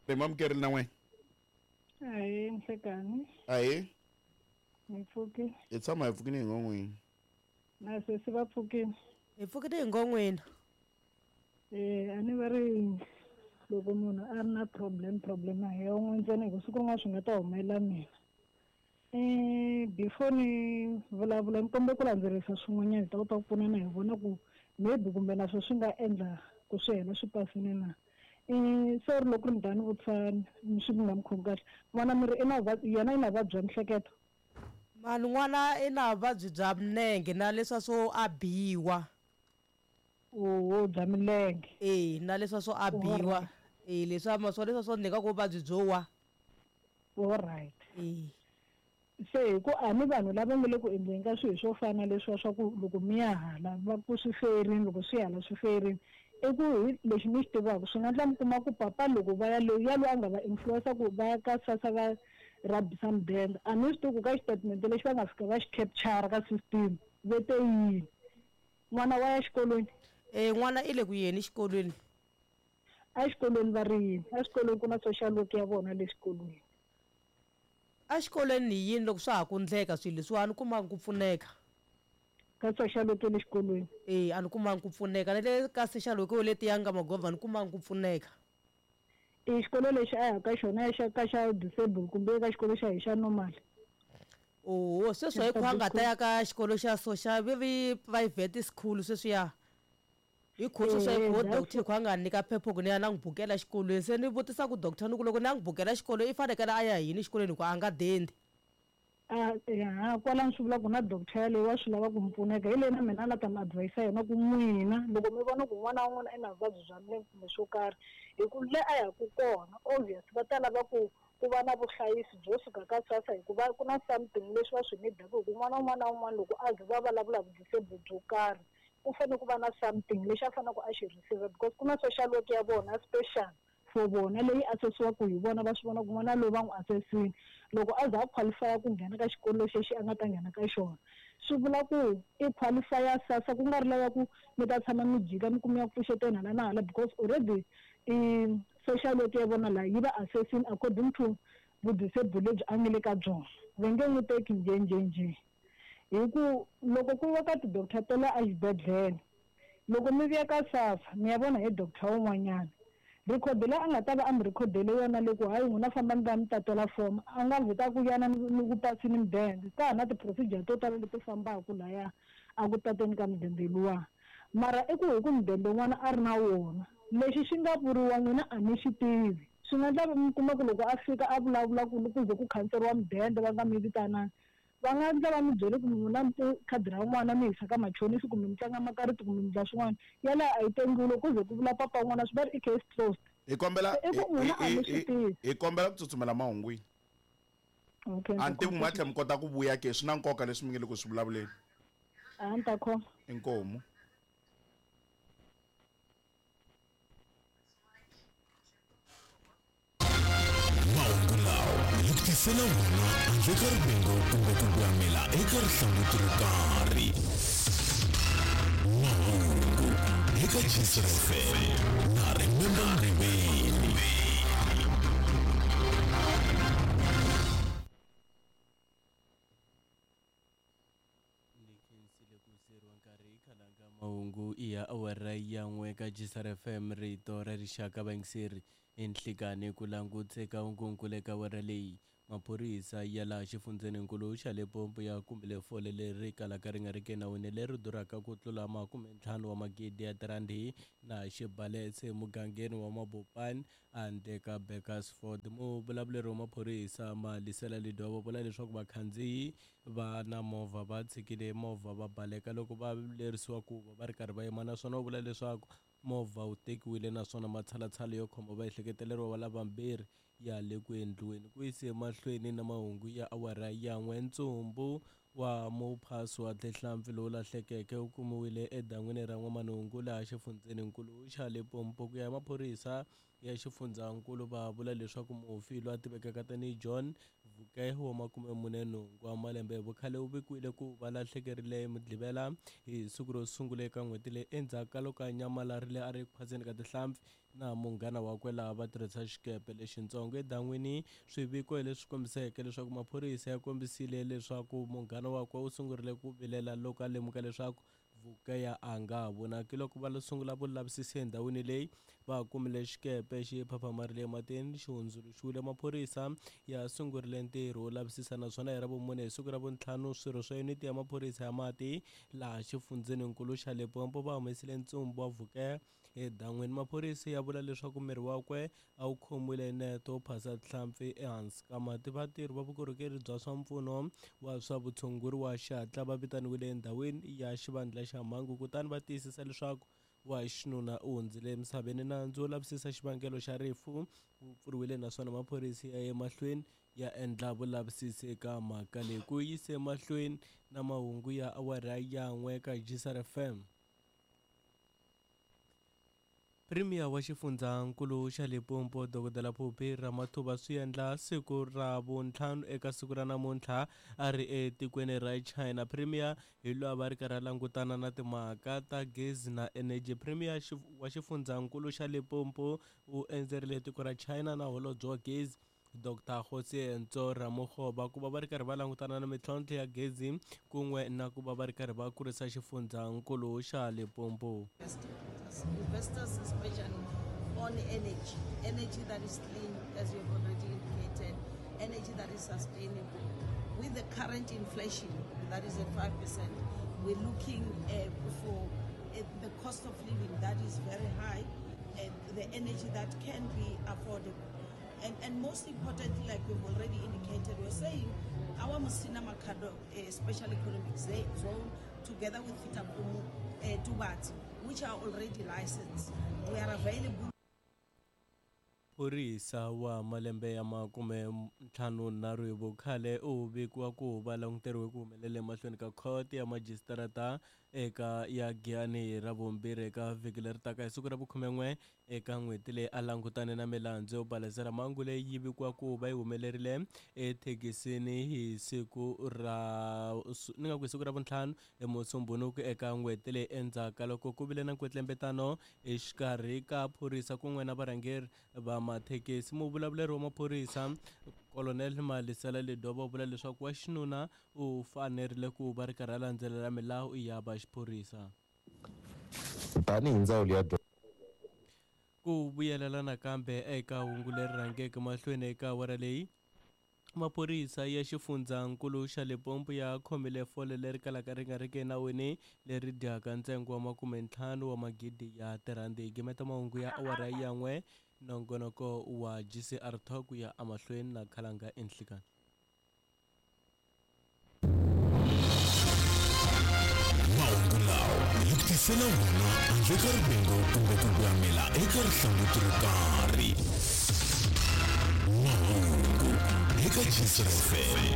Ri mamukerile na n'wina. Ahee, nhlekani. Ahee. Hi pfukile. Hi tshama hi pfukile hi ngon'wini. Na sesi va pfukile. Hi pfukile hi ngon'wini. Eh, a ni va ri loko munhu a ri na problem problem a hi ya un'we ntsena hi ku siku rin'wana swi nga ta humelela mina. Eh, before ni vulavula ni kombela ku landzelerisa swin'wanyana hi ta kota ku pfunana hi vona ku maybe kumbe na swo swi nga endla ku swi hela swi pasile na. Eh, sorry loko ri ni ta ni vutisa swi nga mi khomi kahle. N'wana mi ri i na vuvabyi yena i na vuvabyi bya mihleketo? Mani n'wana i na vuvabyi bya minenge na leswa swo a biwa. Oho bya milenge. E na leswa swo a biwa. E leswa ma swo leswa swo ni nga ku vuvabyi byo wa. Alright. E. Se hi ku a ni vanhu lava nga le ku endleni ka swilo swo fana leswiwa swa ku loko mi ya hala va ku swi ferini loko swi hala swi ferini i ku hi lexi ni xi tivaka swi nga endla mi kuma ku papa loko va ya loyi ya loyi a nga va influencer ku va ya ka sasa va rabisa mudende a ni swi tivi ku ka xitatimende lexi va nga fika va xi capture ka system ve te yini n'wana wa ya xikolweni. E n'wana i le ku yeni xikolweni. Exikolweni va ri yini? Exikolweni ku na social work ya vona le xikolweni. Exikolweni hi yini loko swa ha ku ndleka swilo leswiwa a ni kumanga ku pfuneka. Ka social work ya le xikolweni? E a ni kumanga ku pfuneka na le ka social work letiya nga magovha a ni kumanga ku pfuneka. I xikolo lexi a ya ka xona xa ka xa disable kumbe ka xikolo xa hi xa normal? Oho sweswi hi ku a nga ta ya ka xikolo xa so xa vi ri private school sweswiya. Hi kho sweswi hi kho doctor hi kho a nga nyika phepha ku ni ya na n'wi bukela xikolweni se ni vutisa ku doctor ni ku loko ni ya n'wi bukela xikolo i fanekele a ya hi yini xikolweni hi ku a nga dendi. A ha kwalano swi vula ku na doctor yaleyo wa swi lava ku mi pfuneka hi leyi na mina a la ta mi advise yona ku n'wina loko mi vona ku n'wana wa n'wina i na vuvabyi bya milenge kumbe swo karhi hi ku le a yaku kona obvious va ta lava ku ku va na vuhlayisi byo suka ka SASSA hikuva ku na something leswi va swi need-aka hi ku n'wana wun'wana na wun'wana loko a ze va vulavula hi disable byo karhi ku fanele ku va na something lexi a faneleke a xi receive because ku na social work ya vona special for vona leyi assessiwaka hi vona va swi vona ku n'wana loyi va n'wi assessile loko a za a qualify ku nghena ka xikolo lexi a nga ta nghena ka xona swi vula ku i qualify SASSA ku nga ri lava ku mi ta tshama mi jika mi kuma ya ku pfuxeteni hala na hala because already i social work ya vona laha yi va assessing according to vudisable lebyi a nga le ka byona va nge n'wi teki njhe njhe njhe hi ku loko ku yiwa ka ti-doctor ta le exibedhlele loko mi vuya ka SASSA mi ya vona hi doctor wun'wanyana record leyi a nga ta va a mi rhikhodele yona le ku hayi n'wina fambani va mi tatela form a nga vheta ku yana ni ku pasini mudende ka ha na ti-procedure to tala leti fambaka laya a ku tateni ka mudende luwa mara i ku hi ku mudende n'wana a ri na wona lexi xi nga vuriwa n'wina a mi xi tivi swi nga endla mi kuma ku loko a fika a vulavula ku ku ze ku khanseriwa mudende va nga mi vitananga va nga endla va mi byele ku n'wina mi khadi ra n'wana mi yisa ka machonisi kumbe mi tlanga makarati kumbe mi endla swin'wana yaleyo a yi tengiwi loko ku ze ku vula papa n'wana swi va ri i case closed hi kombela Se i ku n'wina a mi swi tivi. hi kombela ku tsutsumela mahungwini okay a ni tivi ku ma tlhela mi kota ku vuya ke swi na nkoka leswi mi nge le ku swi vulavuleni a ni ta khoma inkomu Mahungu lawa hi ku tisela wona handle ka rivengo kumbe ku gwamela eka rihlanguti ro karhi. Mahungu eka Gcr FM na Remember Mriveni. Ni khensile ku siyeriwa nkarhi khalanga mahungu i ya awara ya n'we ka Gsr FM rito ra rixaka vayingiseri enhlikani ku langutse ka hungunkulu eka awara leyi maphorisa ya laha xifundzheninkulu xa Limpopo ya kumile fole leri kalaka ri nga ri ki enawini leri durhaka ku tlula makumentlhanu wa magidi ya tirandi na xibaletse emugangeni wa Mabopane handle ka Bakersford muvulavuleri wa maphorisa Malisela Lidwaba vula leswaku vakhandziyi va na movha va tshikile movha va baleka loko va lerisiwa ku va va ri karhi va yima naswona u vula leswaku movha wu tekiwile naswona matshalatshala yo khoma vaehleketeleriwa va lavambirhi ya le ku endliweni ku yise emahlweni na mahungu ya awara ya n'we ntsumbu wa muphasi wa tihlampfi lowu lahlekeke wu kumiwile edan'wini ra n'wamanungu laha xifundzheninkulu xa Limpopo ku ya hi maphorisa ya xifundzankulu va vula leswaku mufi loyi a tivekaka tanihi John Vuke wa 48 wa malembe hi vukhale u vikiwile ku va lahlekerile hi Mugqivela hi siku ro sungula eka n'hweti leyi endzhaku ka loko a nyamalarile a ri eku phaseni ka tihlampfi na munghana wakwe laha va tirhisa xikepe lexintsongo edan'wini. Swiviko hi leswi kombiseke leswaku maphorisa ya kombisile leswaku munghana wakwe u sungurile ku vilela loko a lemuka leswaku Vukeya a nga ha vonaki. Loko va sungula vulavisisi endhawini leyi, va kumile xikepe xi phaphamarile ematini xi hundzuluxiwile. Maphorisa ya sungurile ntirho wo lavisisa naswona hi Ravumune hi siku ra vuntlhanu swirho swa yuniti ya maphorisa ya mati laha xifundzheninkulu xa Limpopo va humesile ntsumbu wa Vukeya edan'wini. Maphorisa ya vula leswaku miri wakwe a wu khomiwile hi nete wo phasa tihlampfi ehansi ka mati. Vatirhi va vukorhokeri bya swa mpfuno wa swa vutshunguri wa xihatla va vitaniwile endhawini ya xivandla xa mhangu kutani va tiyisisa leswaku wa xinuna u hundzile emisaveni. Nandzu wo lavisisa xivangelo xa rifu wu pfuriwile naswona maphorisa ya ye mahlweni ya endla vulavisisi eka mhaka leyi. Ku yise emahlweni na mahungu ya awara ya 1 ka GCR FM. Premier wa xifundzankulu xa Limpopo Dr Phophi Ramathuba swi endla siku ra vuntlhanu eka siku ra namuntlha a ri etikweni ra China. Premier hi loyi a va ri karhi a langutana na timhaka ta gezi na energy. Premier wa xifundzankulu xa Limpopo u endzerile tiko ra China na holobye wa gezi Dr Kgosientsho Ramokgopa ku va va ri karhi va langutana na mintlhontlho ya gezi kun'we na ku va va ri karhi va kurisa xifundzankulu xa Limpopo. Investors especially on energy, energy that is clean, as you have already indicated, energy that is sustainable. With the current inflation that is at 5%, we're looking for the cost of living that is very high, and the energy that can be affordable. And most importantly, like we've already indicated, we're saying our Musina Makhado Special Economic Zone, together with Fitakumu Tubatse, which are already licensed, we are available. Phorisa wa malembe ya 53 hi vukhale u vikiwa ku va languteriwe ku humelela emahlweni ka khoto ya majisitarata eka ya Giyani hi Ravumbirhi eka vhiki leri taka hi siku ra vu-11 eka n'hweti leyi a langutane na milandzu yo balesela mhangu leyi yi vikiwa ku va yi humelerile ethekisini hi siku ra ni nga ku hi siku ra vuntlhanu eMusumbhunuku eka n'hweti leyi endzhaku ka loko ku vile na nkwetlembetano exikarhi ka phorisa kun'we na varhangeri va mathekisi. Muvulavuleri wa maphorisa Colonel Malisela Ledwaba u vula leswaku wa xinuna u fanerile ku va ri karhi a landzelela milawu ya va xiphorisa. Tanihi ndzawulo ya ku vuyelela nakambe eka hungu leri rhangeke mahlweni eka awara leyi, maphorisa ya xifundzankulu xa Limpopo ya khomile fole leri kalaka ri nga riki enawini leri dyaka ntsengo wa 50 wa magidi ya tirhandi. Hi gimeta mahungu ya awara ya 1, nongonoko wa GCR Talk ya emahlweni na Khalanga Enhlikani. Mahungu lawa hi ku tisela wona handle ka rivengo kumbe ku gwamela eka rihlanguti ro karhi. Mahungu eka GCR FM.